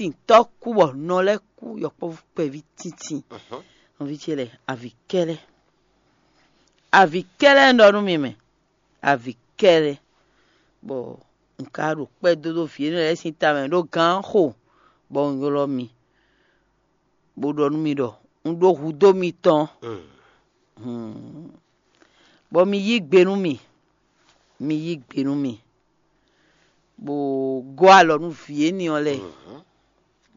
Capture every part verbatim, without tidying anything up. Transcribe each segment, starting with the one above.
tintɔ́ kú bɔ nɔ lɛ́ɛ kú yɔkpɔ́vú kpɛví tíntín. Nɔví ce lɛ́ɛ, avǐ kɛ́lɛ́, avǐ kɛ́lɛ́ un ɖɔ nú mi mɛ, avǐ kɛ́lɛ́, bɔ un ka ɖo kpɛ́ dó ɖó vǐ énɛ́ lɛ́ɛ sín tamɛ ɖó gǎn xo, bɔ un ylɔ́ mi, bó ɖɔ nú mi ɖɔ un ɖó hudó mitɔn, bɔ mi yí gbe nú mì, mi yí gbe nú mì, bó gɔ́ alɔ nú vǐ énɛ́ ɔ́ lɛ́ɛ,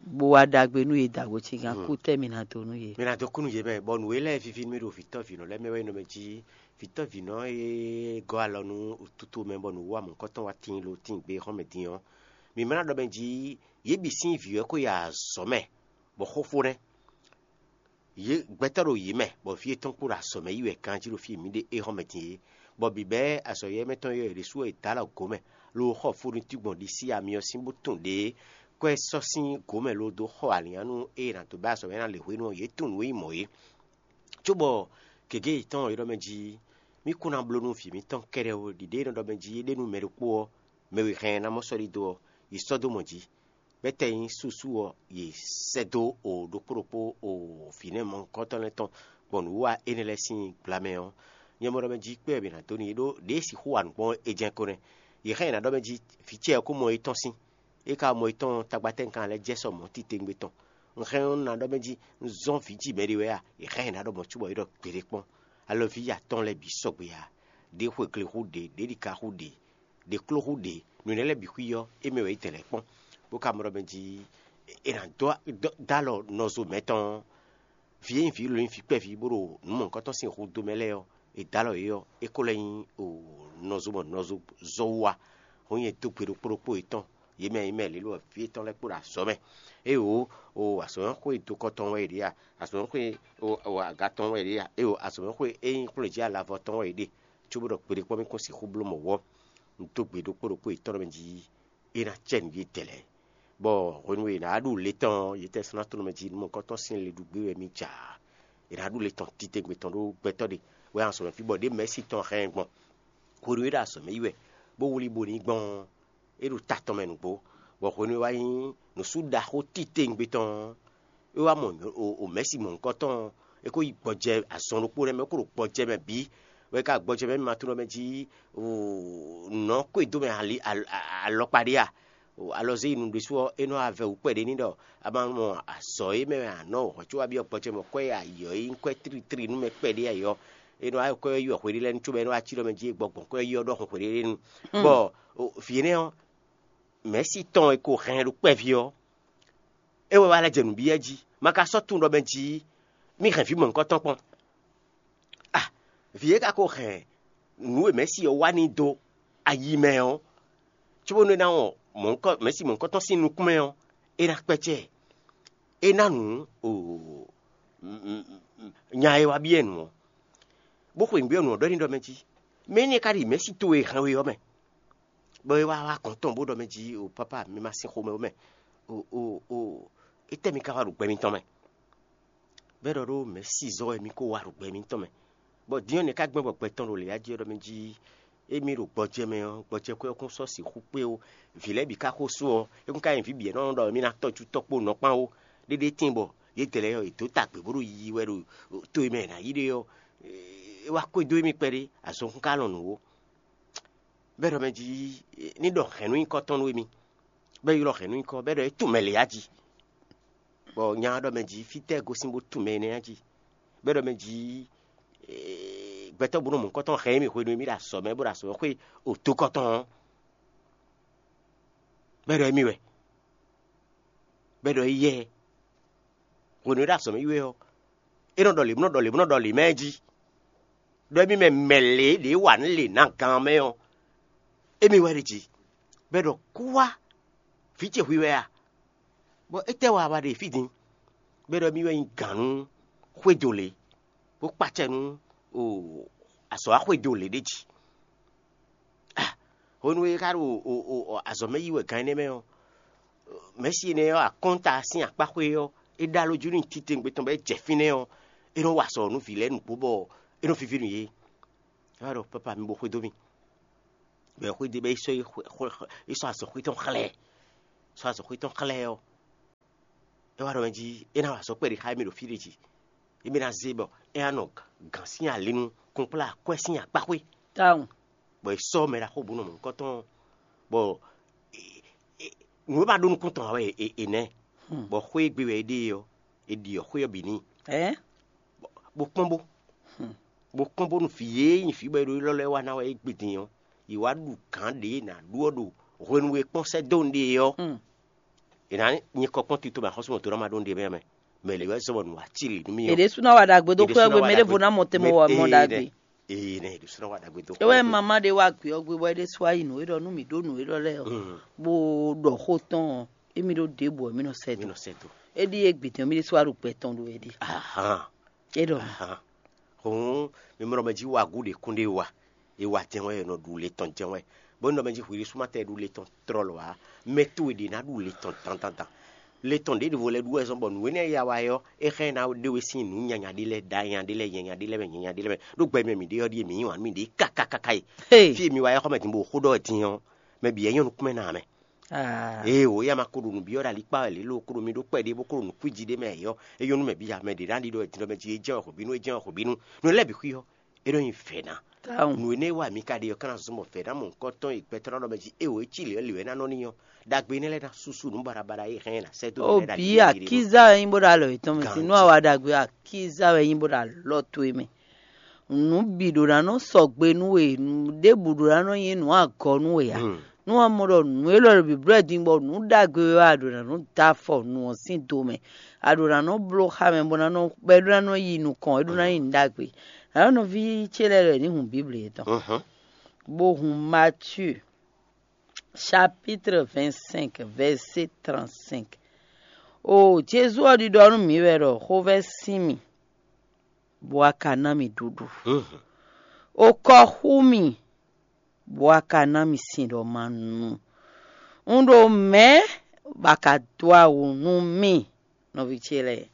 bó wá ɖagbe nú yě dǎgbó cígán kú tɛ́ mi ná dó nú yě. Mi ná dó kú nú yě mɛ, bɔ nǔ e lɛ́ɛ víví nú mì ɖo vǐtɔ́vǐnɔ lɛ́ɛ mɛ wɛ nyí nɔ mɛ jí vǐtɔ́vǐnɔ e gɔ́ alɔ nú wǔtútú mɛ bɔ nǔwiwa mɔ̌hunkɔtɔn wá tíin lo tíin gbe xɔ́mɛ din ɔ́, mǐ ma ná ɖɔ mɛ jí yě bǐ sín vǐ wɛ ko yi azɔ̌ mɛ, bɔ xóxó nɛ́. Yě gbɛtɔ́ ɖo yě mɛ, bɔ vǐ yětɔn kpo ɖo azɔ̌ mɛ yi wɛ ganjí ɖo fí e mǐ ɖe éhɔ́mɛ din é, bɔ bǐbɛ́ azɔ̌yɛ́mɛtɔ́n e ɖě sú e dǎ alɔ gǒ mɛ, lo xɔ fó nú tígbɔn ɖisí amyɔ sín bó tunwun ɖě kɔ́ ɛ sɔ́ sín gǒ mɛ lo dó xɔ alǐnnyánú e è nǎ dó bɛ́ azɔ̌ mɛ ná lě hwenu ɔ́, yě tunwun nǔ e nyí mɔ̌ é. Cóbɔ gěgé yětɔn ɔ́, é ɖɔ mɛ jí mì kún ná bló nú vǐ mǐtɔn kɛ́ɖɛ́ ó, ɖiɖě e nɔ ɖɔ mɛ jí é ɖe nú mɛ ɖokpó ɔ́, mɛ e hɛn ɛ ná mɔ sɔ́ ɖidó ɔ́, yi sɔ́ dó mɔ jǐ. Bɛ́tɛ́ nyí súsú ɔ́, yě sɛ́ dó o ɖokpó ɖokpó o vǐnɛ́ mɔ̌hunkɔtɔn lɛ́ɛ tɔn gbɔn nǔwiwa énɛ́ lɛ́ɛ sín gbla mɛ ɔ́, nyɛ mɔ ɖɔ mɛ jí kpé wɛ mǐ ná dó n'i ɖó ɖěe sixú wa nǔ gbɔn é jɛ́n ko nɛ́. Yě hɛn ɛ ná ɖɔ mɛ jí vǐ ce ɔ́ kó mɔ étɔn sín. É ka mɔ étɔn tagbatɛ́ kan lɛ́ɛ jɛ sɔ mɔ̌ titewungbe tɔn. Un hɛn ɔ́, un ná ɖɔ mɛ jí un zɔ́n vǐ ji mɛɖé wɛ a? È hɛn ɛ ná ɖɔ mɔ̌ cóbɔ é ɖɔ gbeɖé kpɔ́n. Alɔví atɔn lɛ́ɛ bǐ sɔgbe a, ɖě xwegle xú ɖě, ɖě ɖika xú ɖě, ɖě kló xú ɖě, nǔ énɛ́ lɛ́ɛ bǐ xwí ɔ́, é mɛ wɛ é dɛ lɛ́ kpɔ́n, bó ka mɔ ɖɔ mɛ jí è nǎ dó dó alɔ nɔzo mɛtɔn ɔ́, vǐ e nyí vǐ lǒ nyí vǐ kpɛví bó ɖo nǔ mɔ̌hunkɔtɔn sín hudó mɛ lɛ́ɛ ɔ́, è dó alɔ yě ɔ́, é ko lɛ́ nyí nɔzo mɔ nɔzo zɔ́ wú wá. Hɔn nyɛ dó gbe ɖokpó ɖokpó yětɔn, yě mɛ nyí mɛ lě lɔ vǐ yětɔn lɛ́ɛ kpó ɖo azɔ̌ mɛ. Éeǒ, o azɔ̌mɛxwé dokɔ tɔn wɛ è ɖe a? Azɔ̌mɛxwé aga tɔn wɛ è ɖe a? Éeǒ, azɔ̌mɛxwé e nyí xwlé jí alavɔ tɔn wɛ è ɖe. Cóbó ɖɔ gbeɖé kpɔ́n mì kún sixú bló mɔ̌ wɔ́, un dó gbe ɖokpó ɖokpó yětɔn mɛ jí é ná cɛ nǔ yětɛn lɛ́ɛ. Bɔ hwenu e è nǎ ɖu le tɔn ɔ́, yětɛn sɔ́ ná tló mɛ jí nú mɔ̌hunkɔtɔn sín le ɖu gbé wɛ mì ja. È nǎ ɖu le tɔn titewungbe tɔn ɖó gbɛtɔ́ ɖe wɛ azɔ̌ mɛ fí bɔ ɖě mɛ̌si tɔn hɛn ɛ gbɔn. Hwenu e é ɖo azɔ̌ mɛ yi wɛ, bó wlí bo ní gbɔn ɔ́, é ɖo ta tɔn mɛ nǔgbó, bɔ hwenu e wá nyí nǔsú ɖaxó titewungbe tɔn ɔ́, é wá mɔ o mɛ̌si mɔ̌hunkɔtɔn ɔ́, é ko yi gbɔjɛ azɔn ɖokpó nɛ́ mɛ, é ko ɖo gbɔjɛ mɛ bǐ, bɔ é ka gbɔjɛ mɛ mɛ ma tunɔ mɛ jí nɔ̌ ko e dó mɛ alɔkpa ɖé a? Alɔzé yi nu ɖésú ɔ́, é nɔ wá vɛ wǔ kpɛɖé n'i ɖɔ a ma mɔ azɔ̌ e mɛ wɛ a nɔ hɔ̌ có wá byɔ́ gbɔjɛ mɛ kwɛ́ e ayǐ ɔ́ e nyí kwɛ́ tlítlí nú mɛ kpɛɖé ayǐ ɔ́, é nɔ wá kwɛ́ yi wɛ hweɖé lɛ́ɛ nu cóbɔ é nɔ wá cí ɖɔ mɛ jí e gbɔ gbɔn kwɛ́ yi ɔ́ ɖɔhun hweɖé nú. Bɔ vǐ énɛ́ ɔ́, mɛ̌si tɔn e ko hɛn ɖo kpɛví ɔ́, é wɛ wá lɛ́ jɛ nǔ byɔ́ jí, ma ka sɔ́ tunwun ɖɔ mɛ jí mì hɛn vǐ mɔ̌hunkɔtɔn kpɔ́n. Ah, vǐ e ka ko hɛn nǔ e mɛ̌si ɔ́ wa n'i dó ayi mɛ ɔ́, cóbónú é ná wɔn mɔ̌hunkɔ mɛ̌si mɔ̌hunkɔtɔn sín nukún mɛ ɔ́, é ná kpɛ́cɛ́ ɛ. É ná nǔ o nya e wá byɔ́ ɛ nǔ ɔ́, bó xweyǐgbe ɔ́ nǔ ɔ́ ɖɔ n'i ɖɔ mɛ jí, mɛ énɛ́ ka ɖi mɛ̌si towe e hɛn we ɔ́ mɛ, bɔ é wá wá gɔ̌n tɔn bó ɖɔ mɛ jí o pápá mi ma sín xomɛ ó mɛ, o o o étɛ́ mi ka wá ɖo gbɛ mitɔn mɛ? Bɔ é ɖɔ ɖó mɛ̌si zɔ́ wɛ mi ko wá ɖo gbɛ mitɔn mɛ, bɔ din ɔ́ nɛ̌ ka gbɛn bɔ gbɛ tɔn ɖo lě jí ɔ́ ɖɔ mɛ jí émí ɖo gbɔjɛ mɛ ɔ́, gbɔjɛkwɛ́ ɔ́ kún sɔ́ sixú kpé ó. Vǐ lɛ́ɛ bǐ ka xo sú ɔ́, é kún ka nyí vǐ bǐ e nɔ ɖɔ émí ná tɔ́jú tɔ́ kpó nɔ kpán ó. Ɖéɖé tíin bɔ yědɛɛ lɛ́ɛ ɔ́, yě dǒ ta gbě bó ɖo yiyi wɛ ɖo to e mɛ è nǎ yi ɖe ɔ́, é wá xwedó émí kpɛɖé, azɔn kún ka lɔn nǔ ó. Bɔ é ɖɔ mɛ jí ní ɖɔ hɛ̌nnu nyíkɔ tɔn nú émí, bɔ é ylɔ́ hɛ̌nnu nyíkɔ, bɔ é ɖɔ é tunwun mɛ lě á jí. Bɔ nya ɔ́ ɖɔ mɛ jí, fítɛ́ gosín bó tunwun mɛ énɛ́ á jí? Bɔ é ɖɔ mɛ jí, gbɛtɔ́ búnɔ mɔ̌hunkɔtɔn hɛn émí hwenu e mì ɖo azɔ̌ mɛ bó ɖo azɔ̌ mɛ xwé otokɔtɔn ɔ́, bɔ é ɖɔ émí wɛ, bɔ é ɖɔ éyɛ́. Hwenu e é ɖo azɔ̌ mɛ yi wɛ ɔ́, é nɔ ɖɔ lě, bó nɔ ɖɔ lě, bó nɔ ɖɔ lě mɛ jí, ɖɔ émí mɛ mɛ lě ɖě wa nǔ lě ná gan mɛ ɔ́, émí wɛ ɖe jí, bɔ é ɖɔ kú wá, vǐ ce hwi wɛ a? Bɔ étɛ́ wa wá ɖe fí din? Bɔ é ɖɔ émí wɛ nyí gǎn nú xwédo lě, bó kpacɛ nú azɔ̌ wá xwédo lě ɖé jí. Hwenu e é ka ɖo azɔ̌ mɛ yi wɛ gan énɛ́ mɛ ɔ́, mɛ̌si énɛ́ ɔ́, akɔ́nta sín akpáxwé ɔ́, é ɖó alɔ jí nú titewungbe tɔn bɔ é jɛ fínɛ́ ɔ́, é nɔ wa azɔ̌ nú vǐ lɛ́ɛ nǔgbó bɔ é nɔ víví nú yě. É wá ɖɔ pápá mi bo xwedó mì. Bɔ é xwedó bɔ é sɔ́ é sɔ́ azɔ̌xwé tɔn xlɛ́, sɔ́ azɔ̌xwé tɔn xlɛ́ ɔ́, É wá ɖɔ mɛ jí é ná wa azɔ̌ kpɛɖé xá émí ɖo fí ɖé jí. Émí ná zé bɔ é ná nɔ gǎn sín ali nú kunkplá akwɛ́ sín akpáxwé. Tawun. Bɔ è sɔ́ mɛ ɖaxó bǔ nɔ mɔ̌ nukɔntɔn, bɔ nǔ e ma ɖó nukún tɔn ǎ wɛ è nɛ́, bɔ xwé e gbe wɛ é ɖe ɔ́, è ɖiɔ xwé ɔ́ bǐ n'i, bó kpɔ́n bó bó kpɔ́n bónú vǐ e nyí vǐ bɔ è ɖo élɔ́ lɛ́ɛ wa ná wɛ é gbe din ɔ́, yě wá ɖu gǎn ɖě ná ɖu ɔ́ ɖo hwenu e kpɔ́n sɛ́ dó nǔɖé ɔ́. È nǎ nyí kɔ kpɔ́n tito mɛ axɔ́súmɔtɔ́ ná ma ɖó nǔɖé mɛ mɛ. Mɛ lě wɛ zɔ́n bɔ nǔ wá cí lě nú mì ɔ́. È ɖésú ná wa ɖagbe dó xwé gbe mɛ ɖěvo ná mɔ te mɔ wa mɔ ɖagbe. Ee, nɛ ɖésú ná wa ɖagbe dó. É wɛ mama ɖé wá gbé ɔ́ gbé bɔ é ɖésú wá yi nǔ é ɖɔ nú mǐ ɖó nǔ élɔ́ lɛ́ɛ ɔ́, bó ɖɔ xó tɔn ɔ́, émí ɖó ɖěbǔ ɔ́, mí nɔ sɛ dó. Mí nɔ sɛ dó. É ɖíe gbě tɔn mí ɖésú wá ɖo gbɛ tɔn ɖo wɛ ɖi. Ahan. É ɖɔ mǐ. Ahan. Hǔn mi mɔ ɖɔ mɛ jí wa gǔ ɖě kún ɖé wa. È wa jɛ́n wɛ, è nɔ ɖu le tɔn jɛ́n wɛ. Bó nɔ mɛ jí hwi ɖésú ma tɛ ɖu le tɔn tlɔlɔ ǎ. Mɛ towe ɖě ná ɖu le tɔn dandandan. Le tɔn ɖěɖěvo lɛ́ɛ ɖu wɛ zɔ́n bɔ nǔ énɛ́ e ya wa é ɔ́, é xá ɛ ná ɖe we sín nǔ nyanya ɖé lɛ́ɛ, ɖa nyanya ɖé lɛ́ɛ, nyanya ɖé lɛ́ɛ mɛ, nyanya ɖé lɛ́ɛ mɛ. Ɖó gbɛ mɛ mǐ ɖe ɔ́ ɖíe mǐ yí wǎn nú mǐɖée káká káká e. Fí e mi wá é xɔ mɛ din bó xó ɖɔ wɛ din ɔ́, mɛ bǐ wɛ nyɔ́ nukún mɛ ná ǎ mɛ. Ee, wǒ ya ma ko ɖo nǔbyɔ́ ɖo alikpá wɛ lě lo, ko ɖo mi ɖó kpɛɖé bó ko ɖo nǔkwíji ɖé mɛ ǎ, é nyɔ́ nú mɛ bǐ ya. Mɛ ɖě ná ɖi ɖɔ è din ɖɔ mɛ jí é jɛ́n wɛ hwebǐnu, é jɛ́n wɛ hwebǐnu. Nǔ lɛ́ɛ bǐ xwí ɔ́, é nɔ nyi vɛ̌ ná. Nǔ énɛ́ e wa mi ka ɖe ɔ́, ka ná zɔ́n bɔ vɛ̌ ná mɔ nukɔntɔn e gbɛtɔ́ ná ɖɔ mɛ jí é wǒ é cí lě ɔ́ lě wɛ é ná nɔ n'i ɔ́. Ɖagbe énɛ́ lɛ́ɛ ná súsú nǔ baɖabaɖa e hɛn ná sɛ́ dó mǐ lɛ́ɛ ɖo Obi akíza wɛ nyí bó ɖo alɔ yětɔn mɛ, sin nú awa ɖagbe akíza wɛ nyí bó ɖo alɔ towe mɛ. Nǔ bǐ ɖo ná nɔ sɔgbe nú we, nǔ ɖěbǔ ɖo ná nɔ nyí nǔ agɔ nú we ǎ. Nú a mɔ ɖɔ nǔ élɔ́ ɖo bǐblɔ́ din bɔ nǔ ɖagbe wɛ a ɖǒ ná nɔ dó afɔ nǔ ɔ́ sín do mɛ, a ɖǒ ná nɔ bló xá mɛ bó ná nɔ bɔ é ɖó ná nɔ yi nukɔn, é ɖó ná nyí nǔ ɖagbe. Nǎ nɔví ce lɛ́ɛ ɖɔ è ní hun Bíbli yětɔn, bó hun Matíu chapitre vingt-cinq, verset trente-cinq. O Jezu ɔ́ ɖiɖɔ nú mǐ wɛ ɖɔ xovɛ́ sín mì, bó wá ka ná mì ɖuɖu. O kɔ xú mì, bó wá ka ná mì sin ɖɔ ma nu. Un ɖo mɛ̌ bɔ a ka dó awu nú mì, nɔví ce lɛ́ɛ.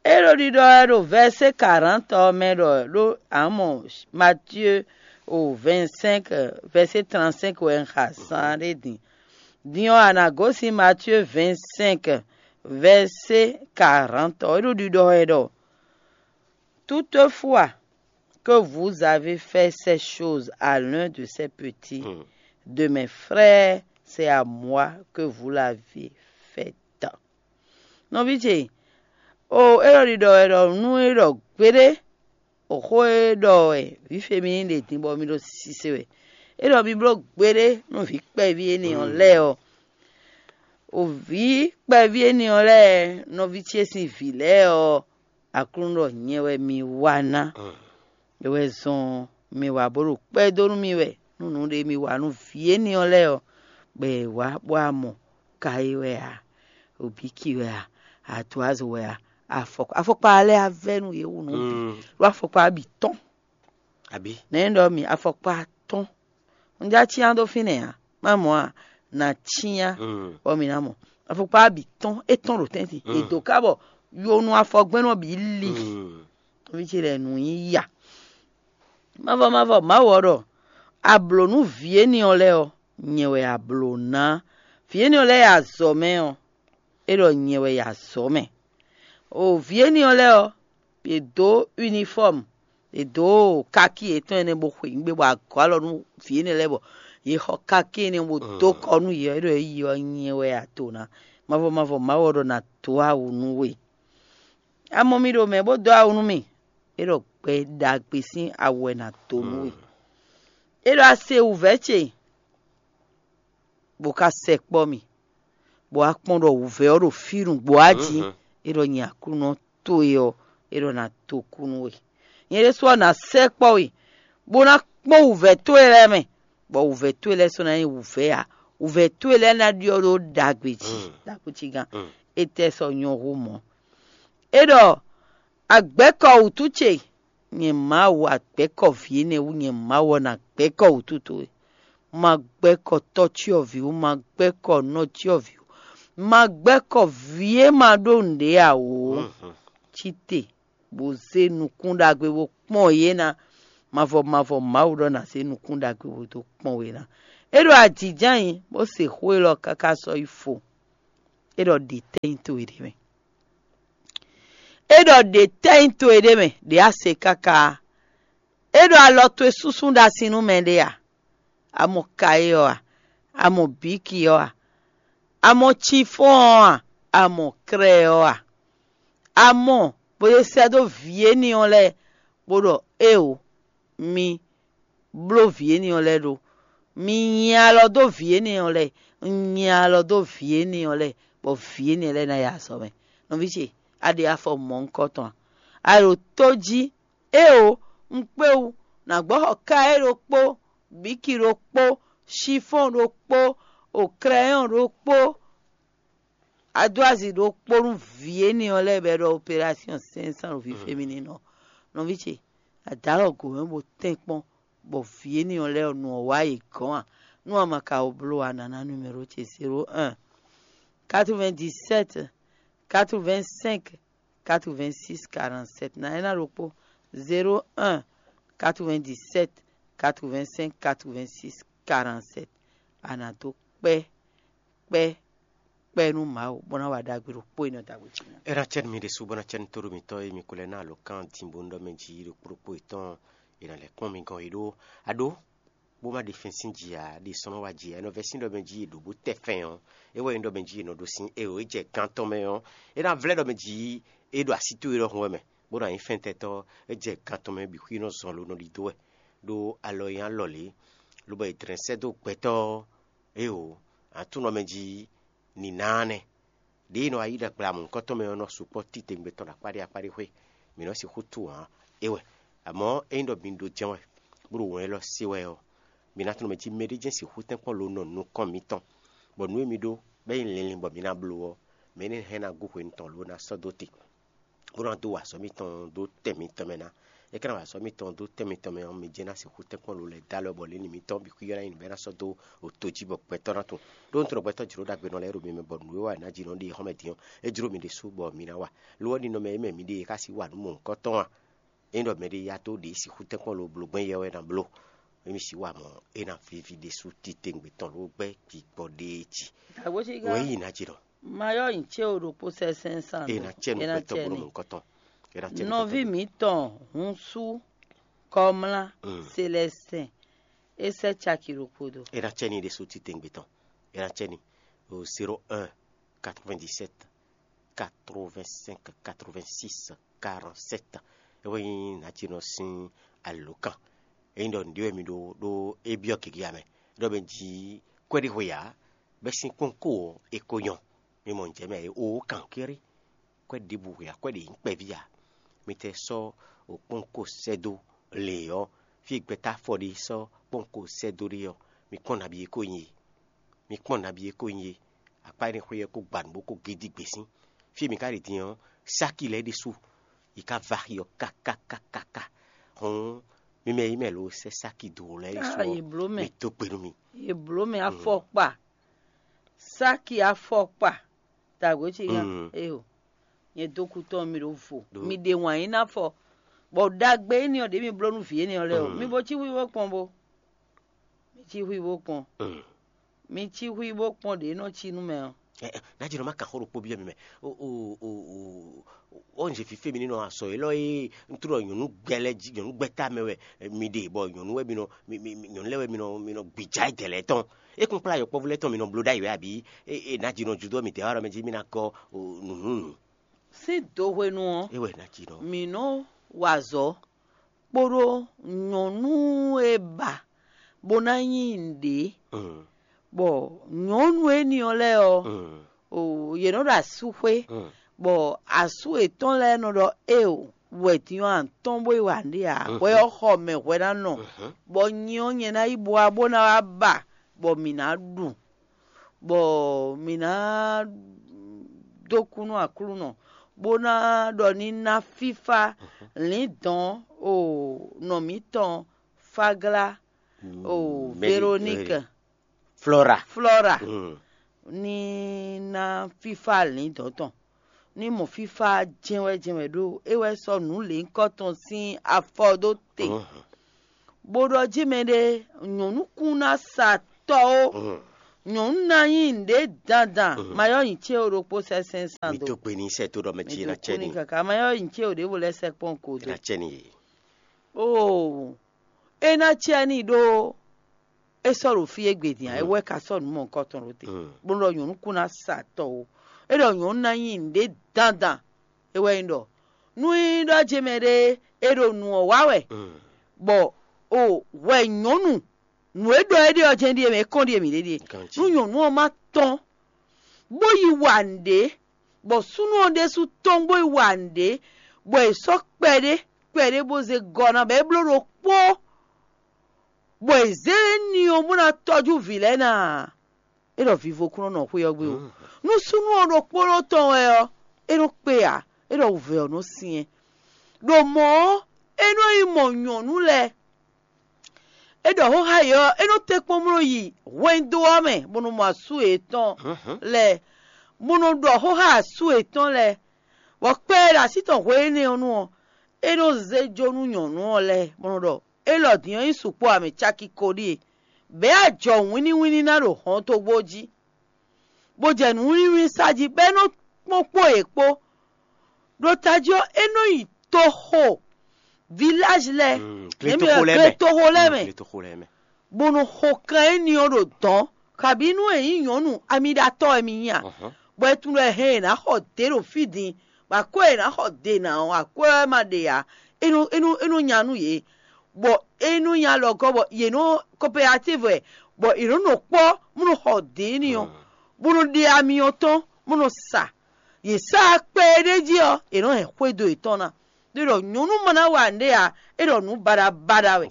É ɖo ɖiɖɔ wɛ ɖo vɛ̌sé karantɔ ɔ́ mɛ ɖɔ ɖó a mɔ Matíe o vɛ̌nsɛ́nk vɛ̌sé trantɛ́nk wɛ un xa zán ɖé din. Din ɔ́, a nǎ gosín Matíe vɛ̌nsɛ́nk vɛ̌sé karantɔ. É ɖo ɖiɖɔ wɛ ɖɔ: Toutefois, que vous avez fait ces choses à l'un de ces petits de mes frères, c'est à moi que vous l'avez fait. Nɔví ce, o é ɖɔ ɖiɖɔ wɛ ɖɔ nú é ɖɔ gbeɖé, o xó e ɖɔ wɛ vǐ Femini ɖe din bɔ mi ɖo sise wɛ. É ɖɔ mi bló gbeɖé nú vǐ kpɛví énɛ́ ɔ́ lɛ́ɛ ɔ́. O vǐ kpɛví énɛ́ ɔ́ lɛ́ɛ, nɔví ce sín vǐ lɛ́ɛ ɔ́, Aklúnɔ ɖɔ nyɛ wɛ mi wa ná. É wɛ zɔ́n mi wa bó ɖo kpɛ́ dó nú mì wɛ nú nǔɖé mi wa nú vǐ énɛ́ ɔ́ lɛ́ɛ ɔ́, bɔ è wǎ bó wá mɔ ka é wɛ a, obíki wɛ a, atuazo wɛ a, afɔkpa afɔkpa lɛ́ɛ á vɛ́ nú yě wu nǔ bǐ, ɖó afɔkpa bǐ tɔ́n. Abǐ nɛ̌ ɖɔ mi afɔkpa tɔ́n? Un já cyán dó fínɛ́ ǎ, má mɔ a nǎ cyán, bɔ mǐ ná mɔ. Afɔkpa bǐ tɔ́n, é tɔ́n ɖo tɛ́ntin, è dǒ ká bɔ yonu afɔgbɛ́n nɔ bǐ li. Nɔví ce lɛ́ɛ nǔ nyí ya. Mavɔ mavɔ Mawu ɔ́ ɖɔ: A blǒ nú vǐ énɛ́ ɔ́ lɛ́ɛ ɔ́, nyɛ wɛ a blǒ ná. Vǐ énɛ́ ɔ́ lɛ́ɛ e azɔ̌ mɛ ɔ́, é ɖɔ nyɛ wɛ yi azɔ̌ mɛ. O vǐ énɛ́ ɔ́ lɛ́ɛ ɔ́, yě dó unifɔ́mu, yě dó kakí yětɔn énɛ́ bó xweyǐgbe bɔ agɔ̌ alɔ nú vǐ énɛ́ lɛ́ɛ bɔ yě xɔ kakí énɛ́ bó dó kɔ nú yě ɔ́, é ɖɔ é yi ɔ́ nyɛ wɛ a to ná. Mavɔ mavɔ Mawu ɔ́ ɖɔ ná dó awu nú we. A mɔ mì ɖo mɛ bó dó awu nú mì, é ɖɔ gbɛ ɖagbe sín awu wɛ ná dó nú we. É ɖɔ a se wǔvɛ́ ce, bó ka sɛkpɔ́ mì, bɔ a kpɔ́n ɖɔ wǔvɛ́ ɔ́ ɖo fí nǔgbó a jí, é ɖɔ nyɛ Aklúnɔ towe ɔ́, é ɖɔ ná dó kú nú we. Nyɛ ɖésú ɔ́ ná sɛkpɔ́ we, bó ná kpɔ́n wǔvɛ́ towe lɛ́ɛ mɛ, bɔ wǔvɛ́ towe lɛ́ɛ sɔ́ ná nyí wǔvɛ́ ǎ. Wǔvɛ́ towe lɛ́ɛ ná ɖyɔ́ ɖó ɖagbe jí, ɖaxó cí gán. Étɛ́ sɔ́ nyɔ́ hú mɔ̌? É ɖɔ: Agbɛ̌kɔ wǔtu ce, nyɛ Mawu, agbɛ̌kɔ vǐ énɛ́ wú, nyɛ Mawu ɔ́ ná gbɛ̌kɔ wǔtu towe. Ma gbɛ́kɔ tɔ́cyɔvǐ wú, ma gbɛ́kɔ nɔcyɔvǐ wú, ma gbɛ́kɔ vǐ e ma ɖó nǔɖé ǎ ó. Cí te, bó zé nukún ɖagbe bó kpɔ́n yě ná. Mavɔ mavɔ Mawu ɖɔ ná zé nukún ɖagbe bó dó kpɔ́n we ná. É ɖo ajǐjǎnyi, bó se xó élɔ́ káká sɔ́ yi fo. é ɖɔ ɖě tɛ́ nyí towe ɖé mɛ. É ɖɔ ɖě tɛ́ nyí towe ɖé mɛ, ɖě a se káká. É ɖɔ alɔ towe súnsún ɖo asi nú mɛɖé a? A mɔ kayé ɔ́ a? A mɔ bǐki ɔ́ a? A mɔ cifɔ́n ɔ́ a? A mɔ krɛ ɔ́ a? A mɔ bó e sɛ́ dó vǐ énɛ́ ɔ́ lɛ́ɛ, bó ɖɔ éeǒ, mi bló vǐ énɛ́ ɔ́ lɛ́ɛ ɖó. Mi nyi alɔ dó vǐ énɛ́ ɔ́ lɛ́ɛ, un nyi alɔ dó vǐ énɛ́ ɔ́ lɛ́ɛ, bɔ vǐ énɛ́ lɛ́ɛ ná yi azɔ̌ mɛ. Nɔví ce, a ɖe afɔ mɔ̌hunkɔtɔn a? A ɖo tó jí, éeǒ, un kpé wú, nǎ gbɔ́ xɔ ká é ɖokpó, bǐki ɖokpó, cifɔ́n ɖokpó, o krɛyɔn ɖokpó, a dó azi ɖokpó nú vǐ énɛ́ ɔ́ lɛ́ɛ bɔ è ɖɔ operásyɔn sɛ́nsán ɖo vǐ féminin ɔ́. Nɔví ce, a dǒ alɔ gǒ mɛ bó tɛ́nkpɔ́n, bɔ vǐ énɛ́ ɔ́ lɛ́ɛ ɔ́, nu ɔ́ wá yě gɔ́n a? Nú a ma ka wɔ bló ǎ, nǎ ná numéro ce: zéro un, quatre-vingt-dix-sept, quatre-vingt-cinq, quatre-vingt-six, quarante-sept. Ná é ná ɖokpó: zéro un, quatre-vingt-dix-sept, quatre-vingt-cinq, quatre-vingt-six, quarante-sept. A nǎ dó kpɛ́ kpɛ́ kpɛ́ nú Mawu, bó ná wa ɖagbe ɖokpó e nɔ da wě jí ná. É ná cɛ́ nú mi ɖésú, bó ná cɛ́ nú tóɖó mitɔ́ e mi ko lɛ́ ná alǒkan din bó nú ɖɔ mɛ jí ɖokpó ɖokpó yětɔn è nǎ lɛ́ kpɔ́n mi gɔ́n é ɖó. A ɖó, bó má ɖe fɛ́n sín jǐ ǎ, ɖe sɔ́ nɔ wá jǐ ǎ, é nɔ vɛ́ sín ɖɔ mɛ jí è ɖǒ bó tɛ fɛn ɔ́, é wɛ nyí ɖɔ mɛ jí è nɔ ɖó sín é ɔ́, é jɛ gán tɔn mɛ ɔ́, é ná vlɛ́ ɖɔ mɛ jí é ɖo así towe ɖɔhun wɛ mɛ, bó ná nyí fɛntɛ́tɔ́, é jɛ gán tɔn mɛ bǐ xwí nɔ zɔn lo nɔ ɖidó wɛ, ɖó alɔ e nyí alɔ lě, lobɔ è dlɛ̌n sɛ́ dó gbɛtɔ́ ɔ́, éeǒ, aklúnɔ mɛ jí nǐnáa nɛ́. Ɖěe nɔ wá yí ɖagbe amɔ̌hunkɔtɔn mɛ ɔ́ nɔ sukpɔ́ titewungbe tɔn ɖo akpá ɖé akpá ɖé xwé; mǐ nɔ sixú tunwun ǎ. É wɛ. Amɔ̌, ényí ɖɔ mi ɖo jɛ́n wɛ, bó ɖo wɛn élɔ́ se wɛ ɔ́, mi ná tunwun mɛ jí mɛɖé jɛ́n sixú tɛ́nkpɔ́n lo nɔ nukɔn mitɔn, bɔ nǔ e mi ɖó bɔ é nyí linlin bɔ mi ná bló ɔ́, mɛ énɛ́ hɛn ná gú hwenu tɔn lǒ ná sɔ́ dó te, bó ná dó wa azɔ̌ mitɔn dó tɛn mitɔn mɛ ná. É ka ná wa azɔ̌ mitɔn dó tɛn mitɔn mɛ ɔ́, mi jɛ́n ná sixú tɛ́nkpɔ́n lo lɛ́ɛ dó alɔ bɔ lǐnlin mitɔn bǐ xwíyɔ́ ná nyi nǔ bɔ é ná sɔ́ dó oto jí bɔ gbɛtɔ́ ná tunwun. Ɖó un tunwun ɖɔ gbɛtɔ́ jlǒ ɖagbe nɔ lɛ́ɛ ɖo mi mɛ, bɔ nǔ e wa è nǎ ji nɔ ɖe xɔ́mɛ din ɔ́, é jló mi ɖésú bɔ mi ná wa. Lo ɔ́, ninɔmɛ e mɛ mi ɖe e xá sí wa nǔ mɔ̌hunkɔtɔn a? Ényí ɖɔ mɛɖé ya dó ɖě sixú tɛ́nkpɔ́n lo bló gbɛ́n yɛ wɛ ná bló, émí sixú wa mɔ̌, é ná víví ɖésú titewungbe tɔn ló gbɛ́ gbigbɔ ɖéé jí. Dǎgbó cí gán. Wěyi ná jí nɔ. Mayɔ́ nyi cé o ɖokpó sɛ́sɛn sán. É ná cɛ nú gbɛtɔ́ bó nɔ mɔ̌hunkɔtɔn. É ná cɛ nú gbɛtɔ́. Nɔví mǐtɔn Húnsú Kɔmlá Selɛsɛn é sɛ́ caki ɖokpó dó. É ná cɛ ní ɖésú titewungbe tɔn. É ná cɛ ní o zéro un quatre-vingt-dix-sept quatre-vingt-cinq quatre-vingt-six quarante-sept. É wɛ nyí nǎjínɔ sín alǒkan. Ényí ɖɔ nǔɖé wɛ mi ɖó ɖó é byɔ́ gěgé ǎ mɛ, ɖɔ mɛ jí kwɛ́ɖíhwe ǎ, bɛ́ sín kpɔ́nko ɔ́, é ko nyɔ́. Mi mɔ nǔjɛ mɛ e ó kankéré, kwɛ́ ɖěbǔ hwe ǎ, kwɛ́ ɖě nyí kpɛví ǎ. Mi tɛ sɔ́ kpɔ́nko sɛ́ dó lě ɔ́, fí e gbɛtɔ́ afɔ ɖé sɔ́ kpɔ́nko sɛ́ dó ɖé ɔ́, mi kpɔ́n nabí e ko nyí e. Mi kpɔ́n nabí e ko nyí e. Akpá énɛ́ xwé ɔ́ ko gba nǔ bó ko gé dí gbě sín. Fí e mi ka ɖe din ɔ́, sáki lɛ́ɛ ɖésú yi ka va axi ɔ́ kákákákáká. Hɔn mi mɛ yi mɛ lo sɛ́ sáki dó lɛ́ɛ ɖésú ɔ́, mi dó gbe nú mi. Yě bló mɛ afɔkpa, sáki afɔkpa, dǎgbé cí gán. Eyo, nyɛ dó kú tɔn mi ɖo vo, mi ɖe wǎn yí ná fɔ, bɔ ɖagbe énɛ́ ɔ́ ɖě mi bló nú vǐ énɛ́ ɔ́ lɛ́ɛ o, mi bo cí hwíhwó kpɔn bo. Mi cí hwíhwó kpɔn. Mi cí hwíhwó kpɔn ɖě nɔ cí nú mɛ ɔ́. Ná jɛ nɔ má kan xó ɖokpó byɔ́ mi mɛ. Ó nze fífé mi ní nɔ azɔ élɔ́ e un tlɔ nyɔ̌nu gbɛ lɛ́ɛ jí, nyɔ̌nu gbɛ́ ta mɛ wɛ mi ɖe, bɔ nyɔ̌nu wɛ mi nɔ, nyɔ̌nu lɛ́ɛ wɛ mi nɔ, mi nɔ gbìjà é dɛ̌ lɛ́ɛ tɔn. É kún kplá yɔkpɔ́vú lɛ́ɛ tɔn mi nɔ bló ɖ'ayǐ wɛ abǐ? É ná jí nɔ judó mi dɛ̌ wá ɖɔ mɛ jí mi ná gɔ́ nǔnúnú. Sín do hwenu ɔ́, é wɛ ná jí nɔ. Mǐ nɔ wa azɔ̌ kpódó nyɔ̌nu e ba bó ná nyí nǔɖé, bɔ nyɔ̌nu énɛ́ ɔ́ lɛ́ɛ ɔ́, o yě nɔ ɖo asúxwé, bɔ asú yětɔn lɛ́ɛ nɔ ɖɔ éeǒ, wɛ din ɔ́ a tɔ́n bó yi wa nǔɖé ǎ, hwɛ ɔ́ xɔ mɛ hwɛ ná nɔ, bɔ nyi ɔ́ nyɛ ná yi bó wá bó ná wá ba, bɔ mǐ ná ɖu, bɔ mǐ ná dó kú nú Aklúnɔ, bó ná ɖɔ ní ná fífá lǐndɔ̌n o nɔ mǐtɔn Fáglá o Veroníke Flɔ́ra. Flɔ́ra ní ná fífá lǐndɔ̌n tɔn, ní mɔ fífá jɛ́nwɛ́ jɛ́nwɛ́ ɖó é wɛ sɔ́ nǔ lěhunkɔtɔn sín afɔ dó te, bó ɖɔ jí mɛɖé nyɔ̌nu kún ná sa tɔ́ ó. Nyɔ̌nu ná nyí nǔɖé dandan, ma yɔ́ nyi cé o ɖokpó sɛ́ sɛ́n san mi dó. Dó gbe ní sɛ tó ɖɔ mɛ jí ná cɛ ní. Kaka ma yɔ́ nyi cé o ɖěvo lɛ́ sɛ́ kpɔ́n ko dó. Ná cɛ ní yé. Oo, é ná cɛ ní ɖó é sɔ́ ɖo fí égbé din ǎ, é wɛ ka sɔ́ nǔ mɔ̌hunkɔtɔn ɖó te, bó ɖɔ nyɔ̌nu kún ná sa tɔ o. É ɖɔ nyɔ̌nu ná nyí nǔɖé dandan. É wɛ nyí ɖɔ nú nyí ɖɔ jemɛ ɖé é ɖo nǔ ɔ́ wa wɛ, bɔ o hwɛ nyɔ̌nu nǔ e ɖɔ é ɖe ɔ́ jɛ́n ɖíe mɛ, é kɔn ɖíe mǐ ɖe ɖíe. Nú nyɔ̌nu ɔ́ ma tɔ́n bó yi wa nǔɖé, bɔ súnnu ɔ́ ɖésú tɔ́n bó yi wa nǔɖé, bɔ è sɔ́ kpɛɖé kpɛɖé bó zé gɔ́ ná, bɔ é bló ɖokpó, bɔ è zě ní ɔ́ bó ná tɔ́jú vǐ lɛ́ɛ ná ǎ. É ɖɔ vivo kún nɔ nɔ xwé ɔ́ gbe o. Nú súnnu ɔ́ ɖokpónɔ tɔn wɛ ɔ́, é nɔ kpé ǎ, é ɖɔ wǔvɛ́ ɔ́ nɔ syɛ́n. Ɖo mɔ̌ ɔ́, é nɔ yi mɔ nyɔ̌nu lɛ́ɛ. É ɖɔ xóxá yě ɔ́, é nɔ tɛ́nkpɔ́n bó nɔ yi hwɛndo ɔ́ mɛ, bó nɔ mɔ asú yětɔn lɛ́ɛ, bó nɔ ɖɔ xóxá asú yětɔn lɛ́ɛ, bɔ kpɛ́ e ɖo así tɔn hwe énɛ́ ɔ́ nu ɔ́, é nɔ zé jó nú nyɔ̌nu ɔ́ lɛ́ɛ, bó nɔ ɖɔ: Élɔ́ din ɔ́ nyí sukpɔ́ ǎ, mɛ caki ko ɖíe, bɛ̌ ajɔ wínníwínní ná ɖo hɔntogbó jí, bó jɛ nǔwínníwínní sa jí, bɔ é nɔ kpɔ́n kpó yě kpó. Ɖo tají ɔ́, é nɔ yi toxo, vilázi lɛ́ɛ, gletoxo lɛ́ɛ mɛ, bó nɔ xo kan éní ɔ́ ɖo dɔ̌n, kabǐ nú è nyí nyɔ̌nu amiɖatɔ́ wɛ mi nyí a? Bɔ é tunwun ɖɔ è hɛn è nǎ xɔ dě ɖo fí din, bɔ akwɛ́ e è nǎ xɔ dě ná ɔ́, akwɛ́ ɔ́ ma ɖe ǎ, é nɔ é nɔ é nɔ nya nú yě, bɔ é nɔ nya lɔ gɔ́ bɔ yě nɔ coopérative wɛ, bɔ yě nɔ nɔ kpɔ́ bó nɔ xɔ dě éní ɔ́, bó nɔ ɖe ami ɔ́ tɔn bó nɔ sa. Yě sa kpɛ e ɖ'é jí ɔ́, è nɔ hɛn xwédo yětɔn ná. Ɖé ɖɔ nyɔ̌nu ma ná wa nǔɖé ǎ, é ɖɔ nǔ baɖabaɖa wɛ.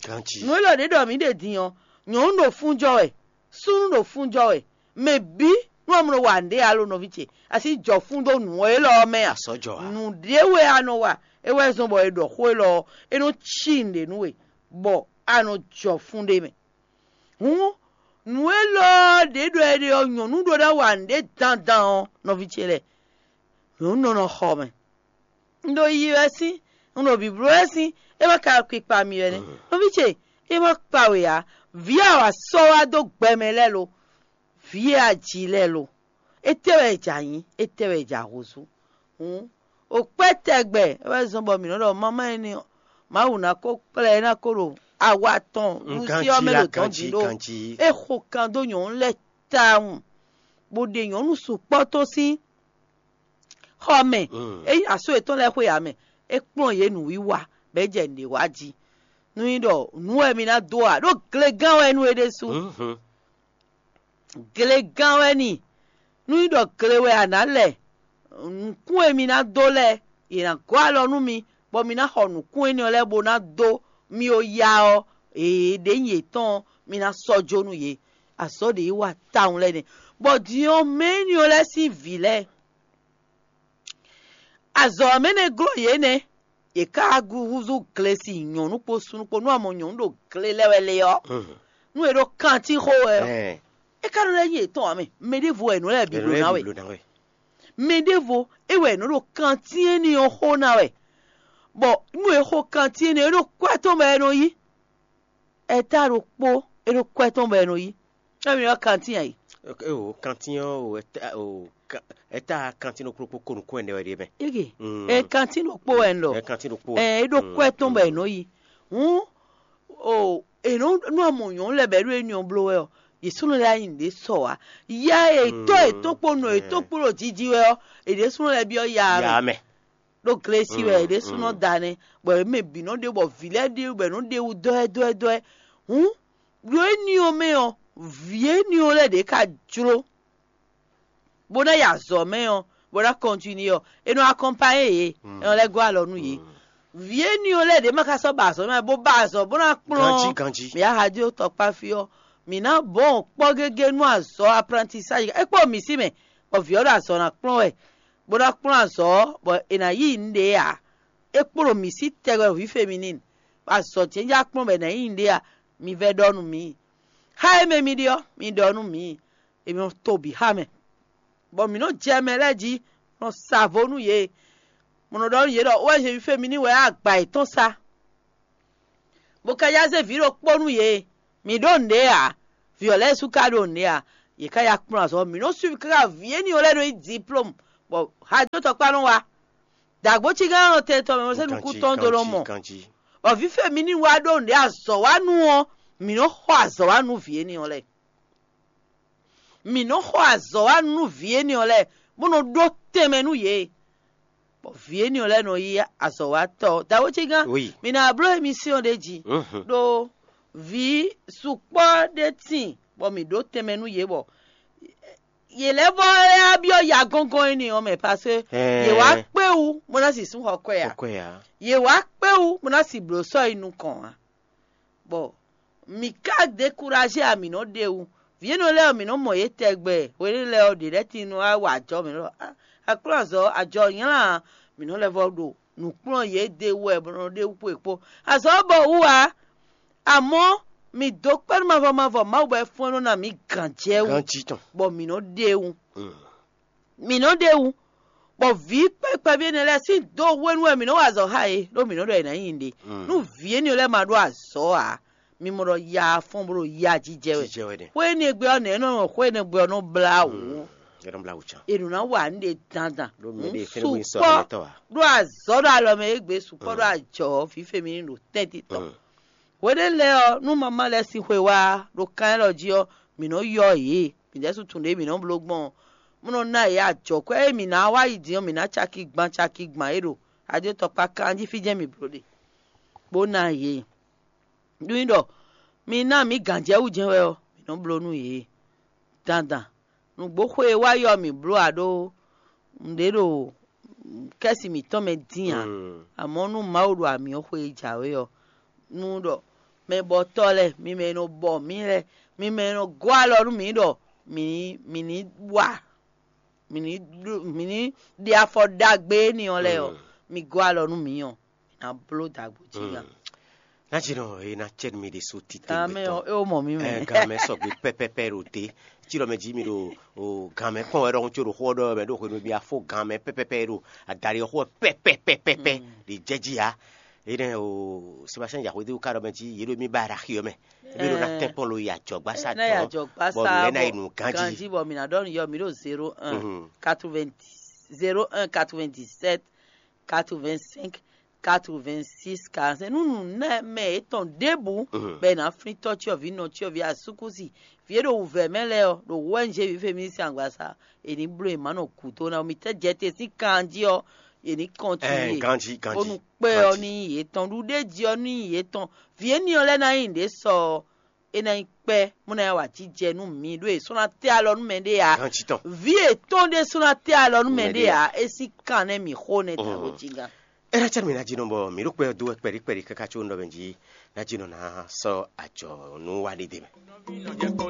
Nǔ élɔ́ ɖě ɖɔ mǐ ɖe din ɔ́, nyɔ̌nu ɖo fún jɔ wɛ, súnnu ɖo fún jɔ wɛ, mɛ bǐ nú ɔ́ mɔ wa nǔɖé ǎ lo nɔví ce, asi jɔ fún dó nǔ élɔ́ ɔ́ mɛ a? Nǔɖé wɛ a nɔ wa, é wɛ zɔ́n bɔ è ɖɔ xó élɔ́ ɔ́, é nɔ cí nǔɖé nú we, bɔ a nɔ jɔ fún ɖé mɛ. Hǔn nǔ élɔ́ ɖě ɖɔ è ɖe ɔ́, nyɔ̌nu ɖó ná wa nǔɖé dandan ɔ́, nɔví ce lɛ́ɛ, nyɔ̌nu nɔ nɔ xɔ mɛ. Un ɖo yiyi wɛ sín, un ɖo bǐbló wɛ sín, é ma ka kpikpa mì wɛ nɛ́. Nɔví ce, é ma kpa we ǎ. Vǐ a wa sɔ́ wá dó gbɛ mɛ lɛ́ɛ lo? Vǐ e a ji lɛ́ɛ lo? Étɛ́ wɛ è jǎ nyí? Étɛ́ wɛ è jǎ húzú? Hǔn, o kpɛ́ tɛgbɛ é wɛ zɔ́n bɔ mǐ nɔ ɖɔ mamá énɛ́ ɔ́, Mawu ná ko kplá ɛ ná ko ɖo awa tɔn wúsi ɔ́ mɛ ɖo dɔ̌n din ɖó. É xo kan dó nyɔ̌nu lɛ́ɛ tawun, bó ɖe nyɔ̌nu sukpɔ́ tó sín xɔ mɛ. É yi asú yětɔn lɛ́ɛ xwe ǎ mɛ, é kplɔ́n yě nǔwiwa, bɔ é jɛ nǔɖé wa jí. Nú nyí ɖɔ nǔ wɛ mi ná dó a ɖó glegán wɛ nú é ɖésú. Glegán wɛ ni. Nú nyí ɖɔ gle wɛ a nǎ lɛ, nǔkún e mi ná dó lɛ́ɛ, yě ná gɔ́ alɔ nú mi, bɔ mi ná xɔ nǔkún énɛ́ ɔ́ lɛ́ɛ bó ná dó mi o ya ɔ́, èɖě nyi yětɔn ɔ́, mi ná sɔ́ jó nú yě. Azɔ̌ ɖě yi wa tawun lɛ́ɛ nɛ́, bɔ din ɔ́ mɛ énɛ́ ɔ́ lɛ́ɛ sín vǐ lɛ́ɛ, azɔ̌ ɔ́ mɛ nɛ́ glɔ́ yě nɛ́. Yě ká húzú glesi nyɔ̌nu kpó súnnu kpó nú a mɔ nyɔ̌nu ɖo gle lɛ́ wɛ lé ɔ́, nú è ɖo kantín xó wɛ ɔ́, é ká nɔ lɛ́ nyí yětɔn ǎ mɛ. Mɛ ɖěvo wɛ è nɔ lɛ́ bǐ bló ná wɛ. Mɛ ɖěvo é wɛ è nɔ ɖo kantín énɛ́ ɔ́ xó ná wɛ, bɔ nú è xo kantín énɛ́ ɔ́, é ɖo kwɛ́ tɔn mɛ è nɔ yí. Ɛta ɖokpó é ɖo kwɛ́ tɔn bɔ è nɔ yí. Emi ɔ́ kantín a yi? Eo kantín ɔ́ o ɛta o ka- ɛta kantín ɖokpó ɖokpó ko nukún ɛnɛ wɛ ɖe mɛ. Ege Mm. E kantín ɖokpó wɛ un ɖɔ. Ɛ kantín ɖokpó wɛ. Ɛ é ɖo kwɛ́ tɔn bɔ è nɔ yí. Hǔn o è nɔ nú amɔ nyɔ̌nu lɛ́ɛ bɔ é ɖo énɛ́ ɔ́ bló wɛ ɔ́, yě súnnu lɛ́ɛ nyi nǔɖé sɔ wá. Ya e tɔ́ e tó kpó nɔ e tó kpó ɖo jiji wɛ ɔ́, è ɖě súnnu lɛ́ɛ byɔ́ ya mɛ. Ya mɛ. Ɖó glesi wɛ è ɖě súnnu da nɛ́, bɔ è mɛ bǐ nɔ ɖe bɔ vǐ lɛ́ɛ ɖe bɔ è nɔ ɖe wú dɔ́ ɛ dɔ́ ɛ dɔ́ ɛ. Hǔn ɖo énɛ́ ɔ́ mɛ ɔ́, vǐ énɛ́ ɔ́ lɛ́ɛ ɖě ka jló, bó ná yi azɔ̌ mɛ ɔ́, bó ná kɔntinué ɔ́, è nɔ akɔnpanyé yě, è nɔ lɛ́ gɔ́ alɔ nú yě. Vǐ énɛ́ ɔ́ lɛ́ɛ ɖě ma ka sɔ́ ba azɔ̌ mɛ, bó ba azɔ̌ bó ná kplɔ́n. Ganjí, ganjí. Mǐ á há dó tɔkpáfí ɔ́, mǐ ná bɔn kpɔ́ gégé nú azɔ̌ aprantisáji é kpó mǐ sí mɛ, bɔ vǐ ɔ́ ɖo azɔ̌ ná kplɔ́n wɛ, bó ná kplɔ́n azɔ̌ ɔ́, bɔ è nǎ yí nǔɖé ǎ. É kplɔ́n mǐ sí tɛgbɛ vǐ feminine, bɔ azɔ̌ jɛ́njɛ́n á kplɔ́n bɔ è nǎ yí nǔɖé ǎ. Mi vɛ́ ɖɔ nú mǐ. Xá e mɛ mi ɖe ɔ́, mi ɖɔ nú mǐ. È nɔ to bǐ xá mɛ, bɔ mǐ nɔ jɛ mɛ lɛ́ɛ jí, nɔ sa vo nú yě. Mo nɔ ɖɔ nú yě ɖɔ wɛ Zevífemi ní wɛ agba yětɔn sá, bó ka yá zé vǐ ɖokpó nú yě. Mǐ ɖó nǔɖé ǎ, vǐ ɔ́ lɛ́ɛ sú ka ɖó nǔɖé ǎ. Yě ká ya kplɔ́n azɔ̌, mǐ nɔ́ suivi káká vǐ énɛ́ lɛ́ɛ nɔ nyí diplômu, bɔ hajotɔ́kpá nɔ wá. Dǎgbócígán nɔ tɛn tɔn mɛ mɔ sɛ́ nukúntɔn dó nɔ mɔ. Bɔ vǐ fɛ́ mi ní wá ɖó nǔɖé azɔ̌ wa nú ɔ́, mǐ nɔ́ xɔ azɔ̌ wa nú vǐ énɛ́ lɛ́ɛ. Mǐ nɔ́ xɔ azɔ̌ wa nú vǐ énɛ́ lɛ́ɛ, bó nɔ ɖó tɛnmɛ nú yě. Bɔ vǐ énɛ́ lɛ́ɛ nɔ yí azɔ̌watɔ́. Dǎgbócígán, Oui. Mǐ ná bló émisíɔn ɖé jí. Mhm. Ɖó vǐ sukpɔ́ ɖé tíin, bɔ mǐ ɖó tɛnmɛ nú yě, bɔ yě lɛ́ vɔ lɛ́ byɔ́ ya gɔ́ngɔ́n énɛ́ ɔ́ mɛ, parce que Ɛɛ. Yě wá kpé wú bó ná sixú xɔ kwɛ ǎ. Xɔ kwɛ ǎ. Yě wá kpé wú bó ná si blǒ sɔ́ yi nukɔn ǎ. Bɔ mǐ ka dékuraje ǎ, mǐ nɔ ɖe wú. Vǐ énɛ́ lɛ́ɛ ɔ́, mǐ nɔ mɔ yě tɛgbɛ. Hwenɛ́ lɛ́ɛ ɔ́, ɖě lɛ́ɛ tíin nɔ wá wa ajɔ mǐ ɖɔ: "Ah, aklúnɔzɔ, ajɔ nylá ǎ." Mǐ nɔ lɛ́ vɔ ɖo nǔ kplɔ́n yě ɖe wú wɛ bɔ nɔ ɖe wú kpó è kpó. Azɔ̌ ɔ́ bɔ wú ǎ. Amɔ̌, mǐ dó kpɛ́ nú mavɔ mavɔ Mawu bɔ é fún ɛ nɔ ná mǐ gǎnjɛwú, Ganjí tɔn. Bɔ mǐ nɔ ɖe wú. Mm. Mǐ nɔ ɖe wú, bɔ vǐ kpɛkpɛví énɛ́ lɛ́ɛ sín do hwenu wɛ mǐ nɔ wa azɔ̌ xá yě, ɖó mǐ nɔ ɖɔ è nǎ nyi ɖe. Mm. Nú vǐ énɛ́ lɛ́ɛ ma ɖó azɔ̌ ǎ, mi mɔ ɖɔ ya fɔ́n bó ɖo ya jijɛ wɛ. Jijɛ wɛ ɖe. Xwé énɛ́ gbe ɔ́, nɛ̌ nɔ xwé énɛ́ gbe ɔ́ nɔ blá wǔ? Mm. É nɔ blá wǔ can. È nǔ ná wa nǔ ɖe dandan. Ɖó mɛ ɖé fɛ́n bó nyí sɔ́ mǐtɔn ǎ. Ɖó azɔ̌ ɖo alɔ mɛ égbé sukpɔ́ ɖó ajɔ ɔ́, fífé mi ní ɖo tɛ́ntin tɔn. Mm. Hweɖé lɛ́ɛ ɔ́, nú mamá lɛ́ɛ sín xwe wá ɖo kan élɔ́ jí ɔ́, mǐ nɔ yɔ yě. Mǐ ɖɛ́ sú tunwun ɖě mǐ nɔ bló gbɔn ɔ́, mɔ nɔ ná yě ajɔ̌kwɛ́ e mǐ ná wá yi din ɔ́, mǐ ná caki gban caki gban é ɖo adótɔkpá kanjí fí jɛ́n mǐ bló ɖe, bó ná yě. Nú nyí ɖɔ mi ná mǐ gǎnjɛwú jɛ́n wɛ ɔ́, mǐ nɔ bló nú yě. Dandan, nǔgbó xwe e wá yi ɔ́, mǐ bló ǎ ɖó nǔɖé ɖo kɛ́si mǐtɔn mɛ dín ǎ. Mm. Amɔ̌, nú Mawu ɖo amyɔ xwe e jǎwe ɔ́, nú ɖɔ mɛbɔtɔ́ lɛ́ɛ, mi mɛ e nɔ bɔ mǐ lɛ́ɛ, mi mɛ e nɔ gɔ́ alɔ nú mǐ ɖɔ mǐ ní mǐ ní wa mǐ ní ɖu- mǐ ní ɖe afɔ ɖagbe énɛ́ ɔ́ lɛ́ɛ ɔ́, Mm. mi gɔ́ alɔ nú mǐ ɔ́, mǐ ná bló dǎgbó jí gán. Nájínɔ e ná cɛ nú mi ɖésú titewungbe Gan mɛ ɔ́, tɔn. É wó mɔ mí mɛ. Ɛ, gan mɛ sɔgbe pɛpɛpɛ ɖo te. Tí ɖɔ mɛ jí mi ɖo o gan mɛ kpɔn wɛ ɖɔhun, tí o ɖo xó ɔ́ ɖɔ mɛ ɖo hwenu mi afó gan mɛ pɛpɛpɛ ɖo adaɖi ɔ́ xó wɛ pɛpɛpɛpɛpɛ Mm. ɖi jɛ jí ya. Énɛ́ o Sébastien Yaxwédéwu ka ɖɔ mɛ jí yě ɖo mí ba ɖo axi ɔ́ mɛ. Ébí ɖo ná Ɛɛ. Tɛ́nkpɔ́n lo yi ajɔ̌gbásá Ná yi tɔn. Ajɔ̌gbásá Bɔ mǐ lɛ́ ná bɔ yi nǔ ganjí. Ganjí bɔ mǐ ná ɖɔ nǔ yɔ mǐ ɖo zéro un Mhm. quatre-vingt-dix zéro un quatre-vingt-dix-sept quatre-vingt-cinq quatre-vingt-six quarante-cinq. Nú nǔ nɛ mɛ yětɔn ɖěbǔ Mhm. bɔ è nǎ flín tɔ́ cyɔ́ví nɔ cyɔ́ví asúkúsi vǐ e ɖo wǔvɛ́ mɛ lɛ́ɛ ɔ́, ɖo wɛ̌njě vǐ fɛ́mísí angbasa, è ní bló è má nɔ gǔdo ná. Mi tɛ́ jɛ te sín kan jí ɔ́, è ní Ɛɛ, kɔntinué. Ganjí, ganjí. Bónú kpɛ́ ɔ́ Ganjí. Ní nyí yětɔn, ɖuɖéjí ɔ́ ní nyí yětɔn. Vǐ énɛ́ ɔ́ lɛ́ɛ ná nyí nǔɖé sɔ ɔ́, é ná nyí kpɛ́, bó ná nyí awǎjijɛ nú mi, ɖó è sɔ́ ná tɛ́ alɔ nú mɛɖé ǎ. Ganjí tɔn. Vǐ yětɔn ɖé sɔ́ ná tɛ́ alɔ nú mɛɖé Mɛɖé ǎ. É sín kan nɛ́ mǐ xo nɛ́ dǎgbó Mm. jí gán. É ná cɛ nú mi ná jí nɔ bɔ mǐ ɖo kpɛ ɔ́ dó wɛ kpɛɖí kpɛɖí káká có un ɖɔ mɛ jí ná jí nɔ ná sɔ́ ajɔ̌nú wa ɖé dé mɛ.